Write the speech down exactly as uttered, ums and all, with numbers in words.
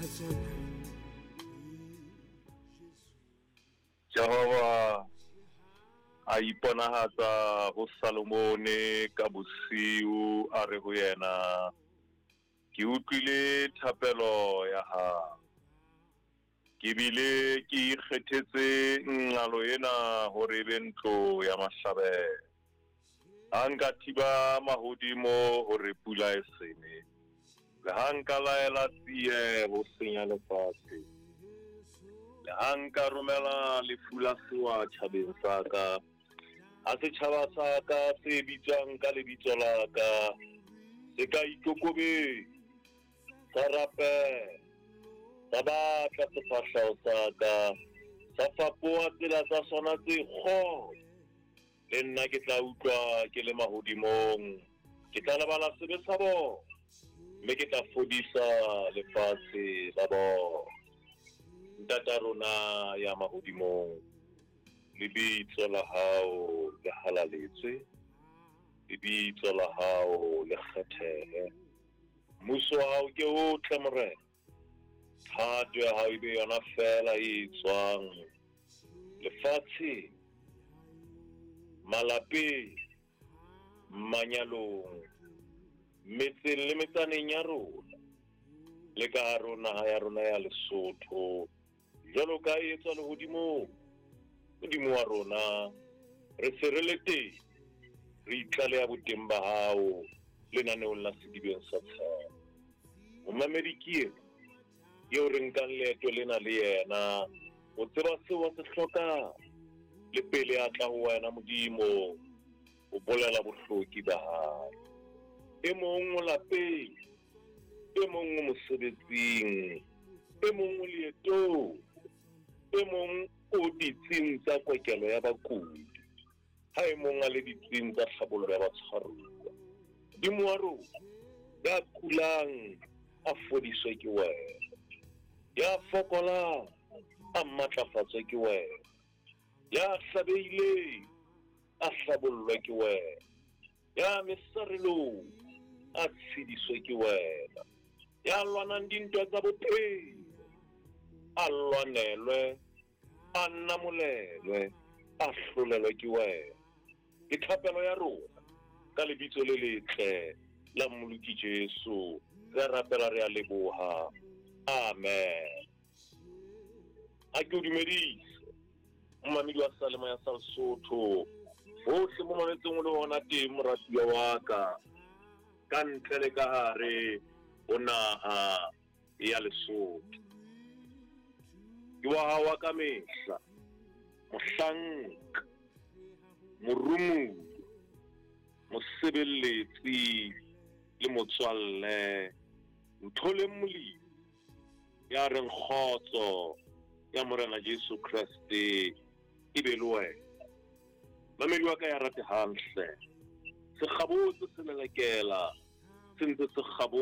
Tsona. Jehova a iponahatsa ho Salomone ka bosiu, a re ho yena, ke utlwile thapelo ya hao, ke bile ke ikgethetse nqalo ena hore e be ntlo ya mahlabelo. Ha nka thiba mahodimo hore pula e sene, le ha nka laela tsie ho senya lefatshe, le ha nka romela lefu la sewa tjhabeng sa ka, ha setjhaba sa ka se bitswang ka lebitso la ka se ka ikokobetsa, sa rapela, sa batla sefahleho sa ka, sa fapoha tsela tsa sona tse kgopo, le nna ke tla utlwa ke le mahodimong, ke tla lebala sebe sa bona, mme ke tla fodisa lefatshe la bona. Ntata rona ya mahodimong, lebitso la hao le halaletswe, lebitso la hao le kgethehe, mmuso wa hao ke o tle Morena, thato ya hao e be yona feela e etswang lefatsheng, malapeng, manyalong, metseng le metsaneng ya rona, le ka hare ho naha ya rona ya Lesotho, jwalo ka e etswa lehodimong. Modimo wa rona, re se re le teng, re itlaleha boteng ba hao lenaneong la Sedibeng sa Tshepo. Momamedi ke ena eo re nkang leeto lena le yena, o tseba seo a se hlokang, le pele a tla ho wena Modimo, o bolela bohloki ba hae. E mong o lapeng, e mong o mosebetsing, e mong o leetong, e mong o ditsing tsa kokelo ya bakudi, ha e mong a le ditsing tsa tlhabollo ya batshwaruwa. Modimo wa rona, ya kulang a fodiswe ke wena, ya fokolang a matlafatswe ke wena, ya hlabehileng a hlabollwe ke wena, ya mesarelong a tshediswe ke wena, ya lwanang dintwa tsa bophelo a lwanelwe, a namolelwe, a hlolelwe ke wena. Ke thapelo ya rona ka lebitso le letle la Mmoloki Jesu, re rapela, re a leboha. Amen. A ke o dumedise momamedi wa Salema ya sa Lesotho, hohle mo mametseng o le hona teng, moratuwa wa ka, ka ntle le ka hare ho naha ya Lesotho. Ke wa hao wa ka mehla, mohlanka, morumuwa, mosebeletsi le motswalle, Ntholeng Molimo, ya reng kgotso ya Morena Jesu Kreste e be le wena. Mamedi wa ka ya ratehang hle, se kgabotse se lelekela, se ntse se kgabotse.